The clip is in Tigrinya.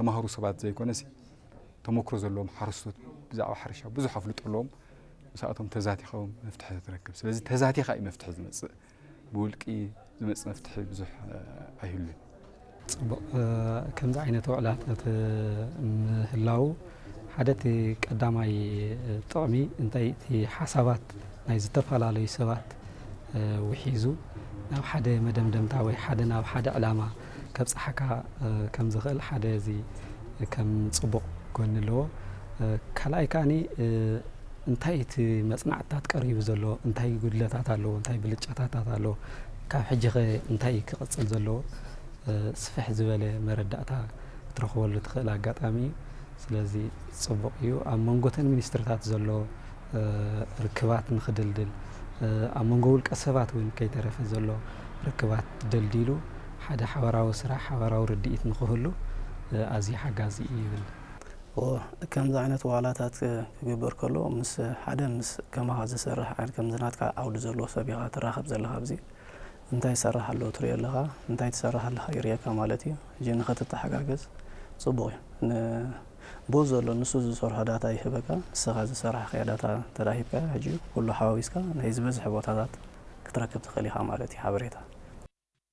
ተማሃሩ ሰባት ዘይኮነሲ ተመክሮ ዘለዎም ሓረስቶት ብዛዕባ ሕርሻ ብዙሕ ኣፍልጦ ኣለዎም። ምስኣቶም ተዛቲኻ እውን መፍትሒ ትረክብ። ስለዚ ተዛቲኻ እዩ መፍትሒ ዝመጽእ፣ ብውልቂ ዝመጽእ መፍትሒ ብዙሕ ኣይህሉን። ጽቡቕ። ከምዚ ዓይነት ውዕላታት ምህላው ሓደ እቲ ቀዳማይ ጥቕሚ እንታይ እቲ ሓሳባት ናይ ዝተፈላለዩ ሰባት ውሒዙ ናብ ሓደ መደምደምታ ወይ ሓደ ናብ ሓደ ዕላማ ከብጽሓካ ከም ዝኽእል ሓደ እዚ ከም ጽቡቕ ጎኒ ኣለዎ። ካልኣይ ከኣኒ እንታይ እቲ መጽናዕትታት ቀሪቡ ዘሎ እንታይ ጉድለታት ኣለዎ እንታይ ብልጫታታት ኣለዎ ካብ ሕጂ ኸ እንታይ ክቕጽል ዘለዎ ስፍሕ ዝበለ መረዳእታ ክትረኽበሉ ትኽእል ኣጋጣሚ እዩ። ስለዚ ጽቡቕ እዩ። ኣብ መንጎተን ሚኒስትርታት ዘሎ ርክባት ንኽድልድል ኣብ መንጎ ውልቀ ሰባት እውን ከይተረፈ ዘሎ ርክባት ደልዲሉ ሓደ ሓበራዊ ስራሕ ሓበራዊ ርድኢት ንኽህሉ ኣዝዩ ሓጋዚ እዩ ይብል። ከምዚ ዓይነት ዋላታት ክግበር ከሎ ምስ ሓደ ምስ ከማኻ ዝሰርሕ ዓይነት ከምዚ ናትካ ዓውዲ ዘለዎ ሰብ ኢኻ ትራኸብ ዘለኻ ኣብዚ እንታይ ይሰርሕ ኣለዎ ትሪኦ ኣለኻ እንታይ ትሰርሕ ኣለኻ ይሪእካ ማለት እዩ። ሕጂ ንኸትተሓጋገዝ ፅቡቕ እዩ። ንብኡ ዘሎ ንሱ ዝሰርሖ ዳታ ይህበካ ንስኻ ዝሰራሕኻዮ ዳታ እንተድኣ ሂብካዮ ሕጂ ኩሉ ሓዋዊስካ ናይ ዝበዝሐ ቦታታት ክትረክብ ትኽእል ኢኻ ማለት እዩ ሓበሬታ።